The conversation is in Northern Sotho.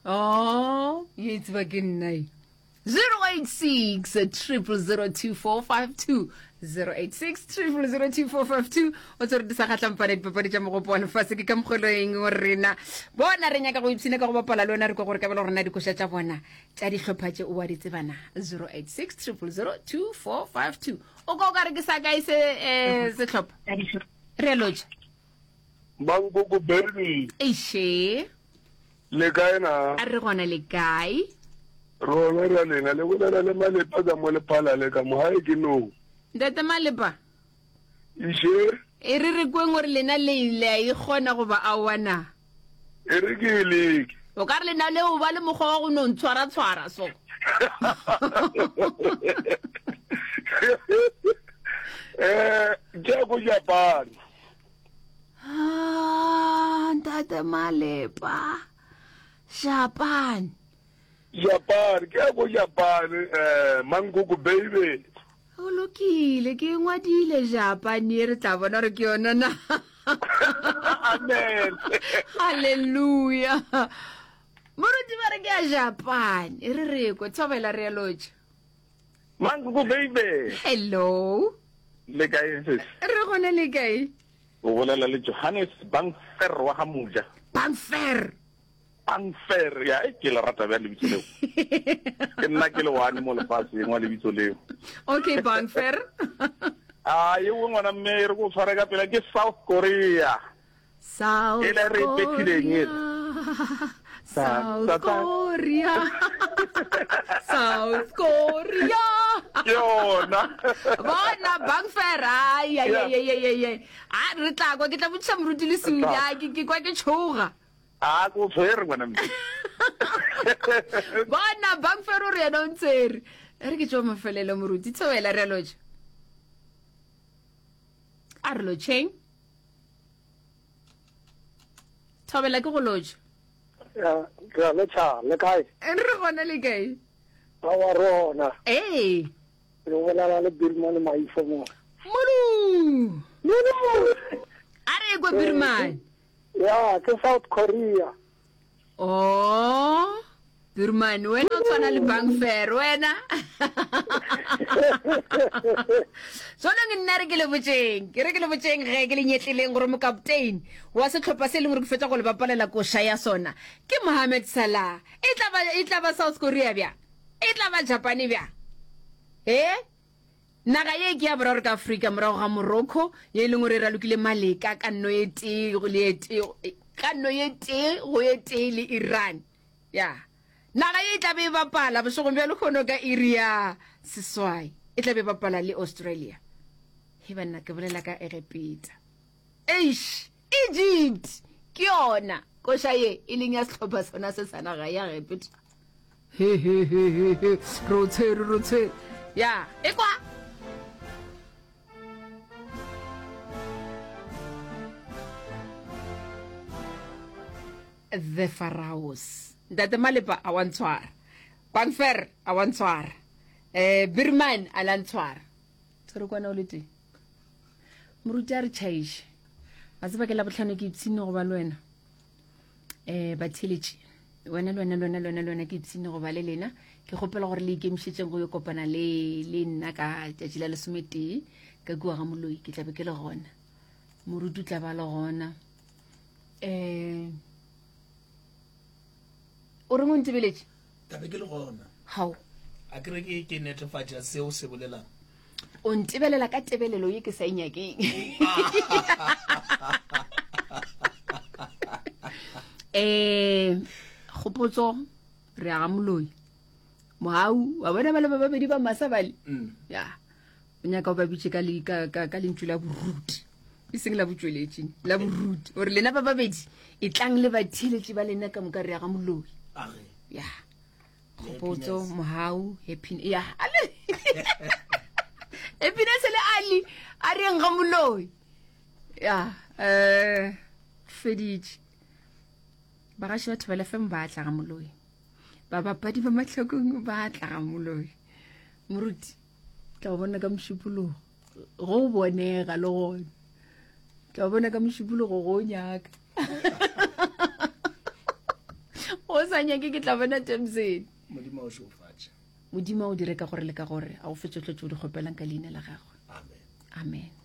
Oh, ye tseba ke nna e. 086 0002452 086 0002452 o tsere di sa kgatlampana dipapadi tša mogopo wa lefase ke ka mokgoloeng o rena bona re nyaka go ipshina ka go bapala le wena re kwa gore kabelo rena dikoša tša bona tša dihlopha tše o wa di tsebana 086 0002452 o ka o ka re ke sa kae se um sehlopha re a lotša Mankoko baby. Eiše. Le kae na? A re gona le kae? Rona ra lena le bolela le Malepa ka mo Lephalale ka mo gae ke no. Ntate Malepa. Iše. E re re kweng gore lena le le a ikgona goba aowa na? E re ke e leke. O ka re lena le o ba le mokgwa wa go no ntshwara tshwara so. Eh, ke ko Japan. Ah, ntate Malepa. Japan. Japan, ke ya ko Japan, eh, Mankoko baby. O lokile, ke ngwadile Japan ye re tla bona gore ke yona na. Amen. Hallelujah. Moruti ba re ke ya Japan. E re re kwe thobela re ya lotša. Mankoko baby. Hello. Le kae sis? Re gona le kae? O bolela le Johannes Bangfer wa ga Moja. Bangfer. Bangfer, ya e ke le rata bjang lebitso leo. Ke nna ke le one mo lefaseng wa lebitso leo. Okay, Bangfer. A ye o ngwana mme e re go tshware ka pela ke South Korea. South E le re e phethileng Korea. ele. South Sa- sa- Korea. South Korea. Ke yona. Bona Bangfer ai ai Yeah. ai ai ai ai. A re tla kwa ke tla botšiša moruti le Tla. Sula ke ke kwa ke tšhoga. A ko tshwere ngwana mme. Bona Bangfer o re yena o ntsere. E re ke tšwa mafelelo moruti thobela re a lotšha. A re lotšheng. Thobela ke go lotšha. Ya, re a lotšha, le kae? Re gona le kae? Aowa re gona. Ee. Re bolela le Birman Maifo mo. Molu! Molu! A re kwa Birman. Ya, ke South Korea. Oh, Birman, wena o tshwana le Bangfair, wena. Jwanong nna re ke le botšeng, ke re ke le botšeng ge ke le nyetleleng gore mokaptein wa sehlopha se e leng gore ke fetša go le bapalela koša ya sona ke Mohamed Salah. E tla ba e tla ba South Korea bjang? E tla ba Japane bjang? Eh? Naga ye ke ya boraro ka Afrika morago ga Morocco ye e leng gore e ralokile maleka ka nno ye tee le ye tee ka nno ye tee go ye tee le Iran. Ya. Naga ye e tla be e bapala bošegong bja lehono ka iri ya seswai. E tla be e bapala le Australia. He banna ke bolela ka Egepeta. Eish, Egypt ke yona koša ye e leng ya sehlopha sona se sa naga ya Egepeta. He he he he he, re o tshwere, re o tshwere. Ya, e kwa. The Pharaohs. Ntate Malepa a wa ntshwara. Bangfer a wa ntshwara. Eh Birman a la ntshwara. Tshwere kwana o le teng. Moruti a re tšhaiše. Wa tseba ke la bohlano ke ipshine go ba le wena. Eh batheletši wena le wena le wena le wena le wena ke ipshine go ba le lena. Ke kgopela gore le ikemišetšeng go yo kopana le le nna ka tšatši la lesometee ka kua ga moloi ke tla be ke le gona. Moruti o tla ba le gona. Eh o reng o ntebeletše? Tla be ke le gona. Hao. A ke re ke ke netefatša seo se bolelang. O ntebelela ka tebelelo ye ke sa e nyakeng. Eh, kgopotso re ya ga moloi. Mohau, wa bona bale ba babedi ba masa bale? Mm. Ya. O nyaka o ba bitše ka le ka ka, ka lentšu la boruti. E seng la botšweletši, la boruti. Gore lena ba babedi e tlang le batheeletši ba lena ka moka re ya ga moloi. A re. Ya. Kgopotso, Mohau, Happiness. Ya. Happiness le Ali a re yeng ga moloi. Ya, eh feditše. Bagaši ba Thobela FM ba tla ga moloi. Babapadi ba Mahlakong ba tla ga moloi. Moruti, tla o bona ka mošupologo. Go bonega le gona. Tla o bona ka mošupologo go nyaka. O sa nyake ke tla bona Jameson. Modimo a o šegofatše. Modimo a o dire ka gore le ka gore a o fe tšohle tše o di kgopelang ka leina la gagwe. Amen. Amen.